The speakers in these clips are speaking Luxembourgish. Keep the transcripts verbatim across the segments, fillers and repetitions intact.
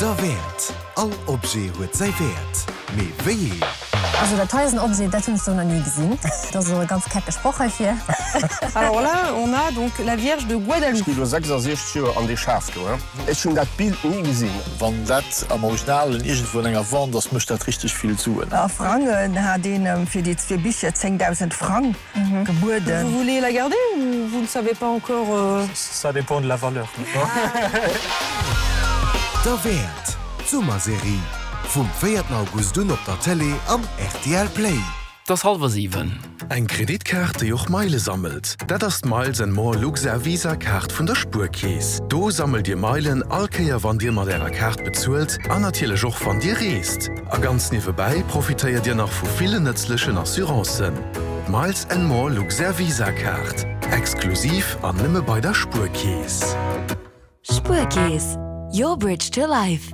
Derwäert. All Objet huet säi Wäert. Mee wéi een? Also dat hei ass en Objet, dat hunn ech sou nach ni gesinn. Dat ass och e ganz kecke Sproch heifir. Alors là, on a donc la Vierge de Guadalupe. Ech gi lo sechsasechzeg Joer an dee Schaf do, he. Ech hunn dat Bild ni gesinn. Wann dat am Originalen iergendwou an enger Wand ass, mécht dat richteg vill Suen. A Frangen hat een em fir déi zwee Bicher zéngdausend Frang gebueden. Vous voulez la garder ou vous ne savez pas encore? Ça dépend de la valeur. Derwäert, d'Summerserie vum véierten August un op der Tëlee an R T L Play. Et ass hallwer siwen. Eng Kreditkaart, déi och Meile sammelt? Dat ass d'Miles and More Luxair Visa Kaart vun der Spuerkeess. Do sammelt Dir Meilen all Kéier wann Dir mat Ärer Kaart bezuelt an natierlech och wann Dir reest. A ganz niewebäi profitéiert Dir nach vu villen nëtzlechen Assurancen. D'Miles and More Luxair Visa Kaart, exklusiv an nëmme bei der Spuerkeess. Spuerkeess, your bridge to life.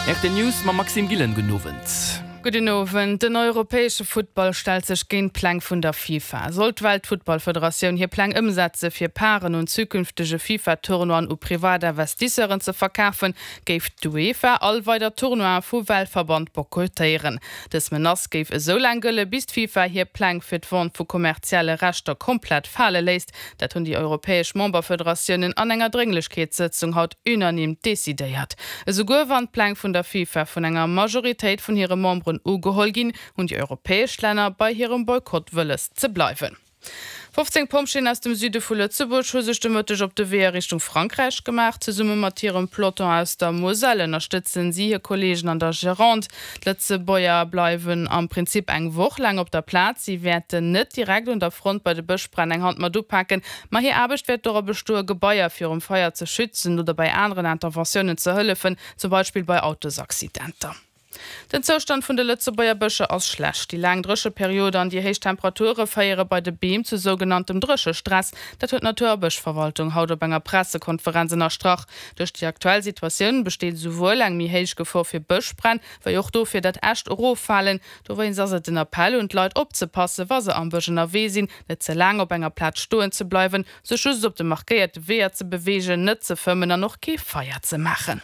R T L News mam Maxime Gillen. Gudden Owend. Gudden Owend. Den europäesche Futtball stellt sech géint d'Pläng vun der FIFA. Sollt d'Weltfuttballfederatioun hir Pläng ëmsetze fir Parten un zukünftege FIFA-Tournoien u privat Investisseuren ze verkafen, géif d'UEFA all weider Tournoie vum Weltverband boykottéieren. Dës Menace géif esou laang gëlle bis d'FIFA hir Pläng fir d'Vente vu kommerzielle Rechter komplett fale léisst. Dat hunn déi europäesch Memberfederatiounen an enger Drénglechkeetssëtzung haut unanim decidéiert. Esouguer wann d'Pläng vun der FIFA vun enger Majoritéit vun hire Memberen ugeholl ginn, hunn déi europäesch Länner bei hirem Boykott wëlles ze bleiwen. fofzéng Pompjeeën aus dem Süde vu Lëtzebuerg hu sech de Mëtteg op de Wee a Richtung Frankräich gemaach. Zesumme mat hirem Peloton aus der Moselle ënnerstëtzen si hir Kolleegen an der Gironde. D'Lëtzebuerger bleiwen am Prinzip eng Woch laang op der Plaz. Si wäerten net direkt un der Front bei de Bëschbränn eng Hand mat upaken, ma hir Aarbecht wäert dora bestoen, Gebaier virum Feier ze schützen oder bei aneren Interventiounen ze hëllefen, zum Beispill bei Autosaccidenter. Den Zoustand vun de Lëtzebuerger Bëscher ass schlecht. Déi laang Drécheperiode an déi héich Temperature féiere bei de Beem zu sougenanntem Dréchestress. Dat huet d'Natur a Bëschverwaltung haut op enger Pressekonferenz ënnerstrach. Duerch déi aktuell Situatioun besteet esouwuel eng méi héich Gefor fir Bëschbränn, wéi och dofir, datt Äscht eroffalen. Dowéinst ass et den Appell un d'Leit opzepassen, wa se am Bësch ënnerwee sinn, net ze laang op enger Plaz stoen ze bleiwen, sech just op de markéierte Weeër ze beweegen, net ze fëmmen an och kee Feier ze maachen.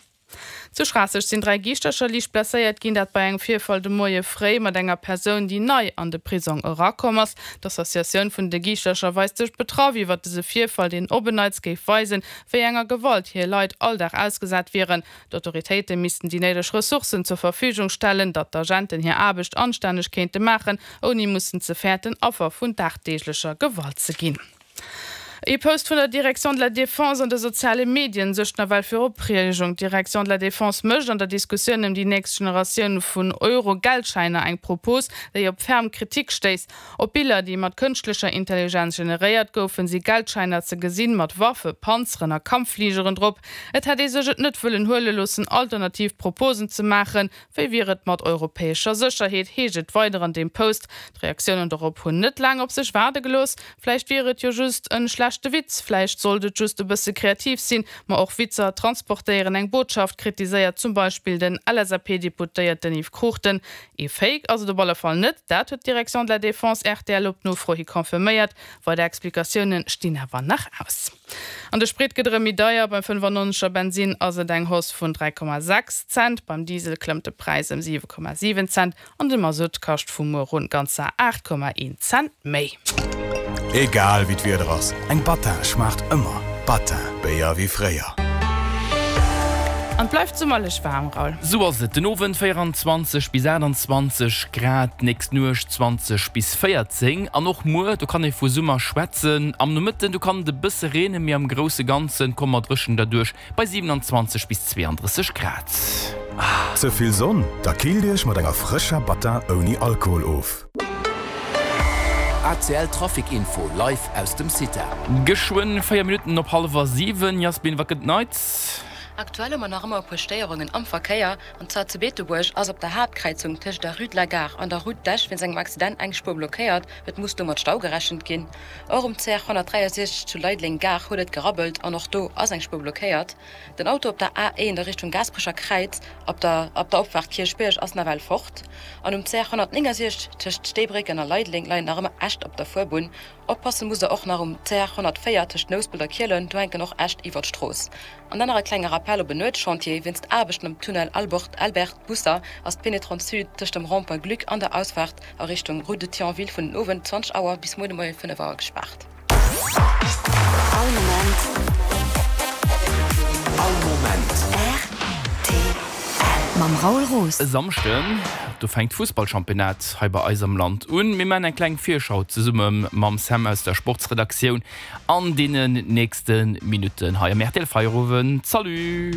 Zu Schraasseg sinn dräi Giischtercher liicht blesséiert ginn, dat bei engem Virfall de Moie fréi mat enger Persoun, déi nei an de Prisong erakomm ass. D'Associatioun vun de Giischtercher weist sech betraff iwwer dëse Virfall, deen op en Neits géif weisen, wéi enger Gewalt hir Leit all Dag ausgesat wieren. D'Autoritéite missten déi néideg Ressourcen zur Verfügung stellen, datt d'Agenten hir Aarbecht anstänneg kéinte maachen, ouni mussen ze fäerten, Affer vun dagdeeglecher Gewalt ze ginn. E Post vun der Direction de la Défense an de soziale Medien suergt nawell fir Opreegung. D'Direction de la Défense mécht an der Diskussioun ëm déi nächst Generatioun vun Euro-Geldschäiner eng Propos, déi op ferm Kritik stéisst. Op Biller, déi mat kënschtlecher Intelligenz generéiert goufen, si Geldschäiner ze gesinn mat Waffe, Panzeren a Kampffligeren drop. Et hätt ee sech et net wëllen huele loossen, alternativ Proposen ze maachen. Wéi wier et mat europäescher Sécherheet, heescht et weider an deem Post. D'Reaktiounen dorop hunn net laang op sech waarde gelooss. Vläicht wier et jo just en schlechte Witz, vläicht sollt et just e bësse kreativ sinn, ma och Witzer transportéieren eng Botschaft, kritiséiert zum Beispill den L S A P-Deputéierten Yves Cruchten. E Fake ass et op alle Fall net, dat huet d'Direction de la Défense R T L op Nofro hi confirméiert. Weider Explikatioune stinn awer nach aus. An de Sprit gëtt erëm méi deier, beim fënnefannonzeger Bensin ass et eng Hausse vun dräi Komma sechs Cent, beim Diesel klëmmt de Präis ëm siwe Komma siwen Cent an de Masutt kascht vu muer un ganzer aacht Komma een Cent méi. Egal wéi d'Wieder ass, eng Battin schmaacht ëmmer. Battin, Béier wéi fréier. An et bleift summerlech waarm, Raoul. Sou ass et, den Owend véierenzwanzeg bis aachtanzwanzeg Grad, d'nächst Nuecht zwanzeg bis véierzéng an och muer, do kann ee vu Summer schwätzen. Am Nomëtten, do kann et e bësse reenen, mee am grousse Ganze komme mer dréchen derduerch bei siewenundzwanzeg bis zweeandrësseg Grad. Ze vill Sonn? Da killt iech mat enger frëscher Battin ouni Alkohol of. A C L Trafic Info live aus dem CITA. Geschwënn véier Minutten op hallwer siwen. Jasmin, wat gëtt Neits? Aktuell hu mer nach ëmmer e puer Stéierungen am Verkéier, an zwar zu Beetebuerg ass op der Haaptkräizung tëscht der Rue de la Gare an der Route d'Esch wéinst engem Accident eng Spuer blockéiert. Et muss do mat Stau gerechent ginn. Och um C R honnertdräiasechzeg zu Leideleng Gare huet et gerabbelt an och do ass eng Spuer blockéiert. Den Auto op der A eent a Richtung Gaasperecher Kräiz op der op der Opfaart Kierchbierg ass nawell fort. An um C R honnertnéngasiechzeg tëscht Steebrécken a Leideleng leien nach ëmmer Äscht op der Fuerbunn. Oppasse musst der och nach um C R honnertvéier tëscht Nouspelt a Kielen, do hänken och Äscht iwwer d'Strooss. An dann nach e klenge Rappel op en Nuetschantier, Wéinst Aarbechten um Tunnel Albert Albert Busser ass d'Pénétrante Sud tëscht dem Rond-point Gluck an der Ausfaart a Richtung Route de Thionville vun den Owend zwanzeg Auer bis muer de Moie fënnef Auer gespaart. All Moment. All Moment. Rtl. Mam Raoul Roos. E Samschden, do fänkt d'Fussballchampionnat hei bei eis am Land un. Mir maachen eng kleng Virschau zesumme mam Sam aus der Sportsredaktioun an deenen nächste Minutten hei am rtl Feierowend. Salut!